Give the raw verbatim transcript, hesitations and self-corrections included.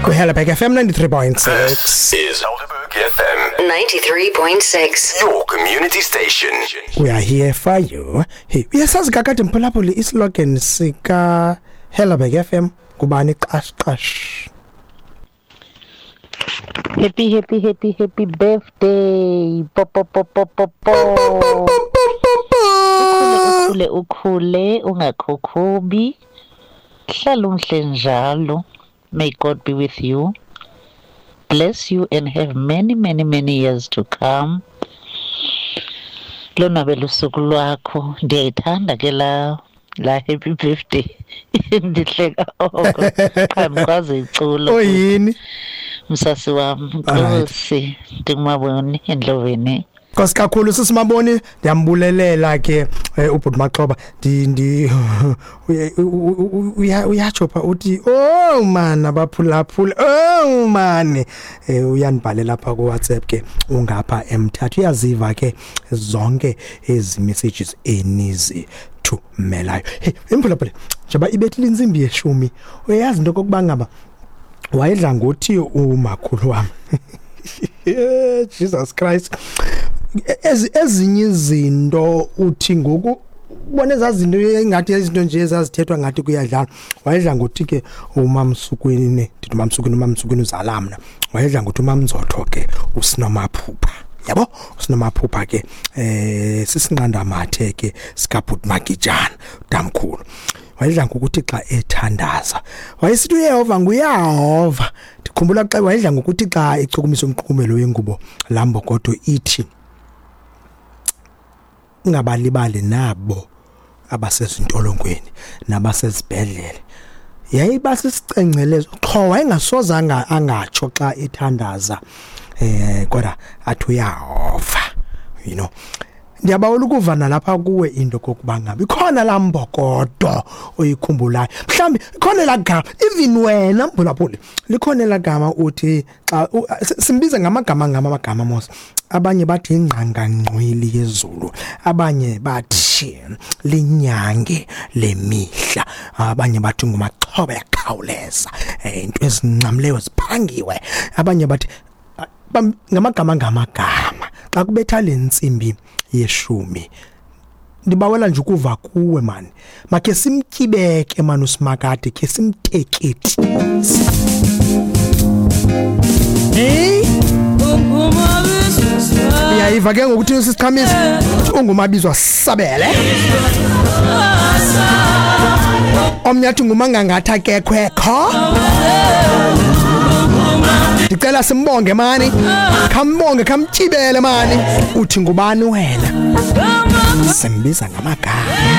Kwi-Helderberg F M ninety-three point six. This is Helderberg F M ninety-three point six. Your community station. We are here for you. Hey, uyasazi kakade mphulaphuli islogan sika Helderberg F M kubani? Qash qash. Happy, happy, happy, happy birthday. Po, po, po, po, po, po. Ukhule, ukhule, ungakhokhobi. Hlala umhle njalo. May God be with you. Bless you and have many, many, many years to come. Lonwabela usuku lwakho. Ndiyayithanda ke la la happy birthday. Ndihleka oko. Qha ndikwazi iculo. Oyini? Msasi wam, Alright. Nkosi, ndingumaboni endloveni. Nkosi kakhulu sisimaboni, ndiyambulelela ke eh, ubhuti Maxhoba ndi ndi uye- u- u- uya- uyatsho pha uthi, "Oh man, abaphulaphula, oh man." eh uyandibhalela pha ku WhatsApp ke, ungapha emthatha, uyaziva ke zonke ezi messages enizithumelayo. Hey imphulaphula, njengoba ibethile intsimbi yeshumi, uyayazi into kokuba ngaba wayedla ngothi umakhulu wam, Jesus Christ, ezi ezinye izinto uthi ngoku ubona ezaa zinto engathi izinto nje ezazithethwa ngathi kuyadlala. Wayedla ngothi ke umamsukwini, ndithi umamsukwini, umamsukwini uzala mna, wayedla ngothi umamzotho ke usinomaphupha, yabo, usinomaphupha ke eh sisinqandamathe ke sikabhuti Magijana damkhulu. Wayedla ngokuthi xa ethandaza wayesithi uYehova nguYehova. Ndikhumbula xa wayedla ngokuthi xa echukumisa umqhumelo wengubo lambokodo ithi, ungabalibali nabo abasezintolongweni nabasezibhedlele. Yayiba sisicengcelezo qho, wayengasoze anga- angatsho xa ethandaza eh kodwa athi uYehova you know Ndiyabawela ukuva nalapha kuwe into kokuba ngabe ikhona laa mbokodo oyikhumbulayo, mhlawumbi ikhona elaa gama, even wena mphulaphuli, likhona elaa gama uthi xa u- si- simbize ngamagama ngama amagama mos. Abanye bathi ingqangangqwili yezulu, abanye bathi linyange lemihla, abanye bathi ngumaxhoba yakhawuleza, eh, into ezincamleyo ziphangiwe, abanye bathi bam- ngamagama ngamagama. Xa kubetha le ntsimbi yeshumi, ndibawela nje ukuva kuwe mani, makhe simtyibeke mani usimakade, khe simteketi. Hey, uyayiva ke ngokuthi sisiqhamisa ungumabizwa sabele, omnye athi ngumangangatha kekhwekho. Ndicela simbonge mani, khambonge, khamtyibele mani, uthi ngubani wena? Simbiza ngamagama.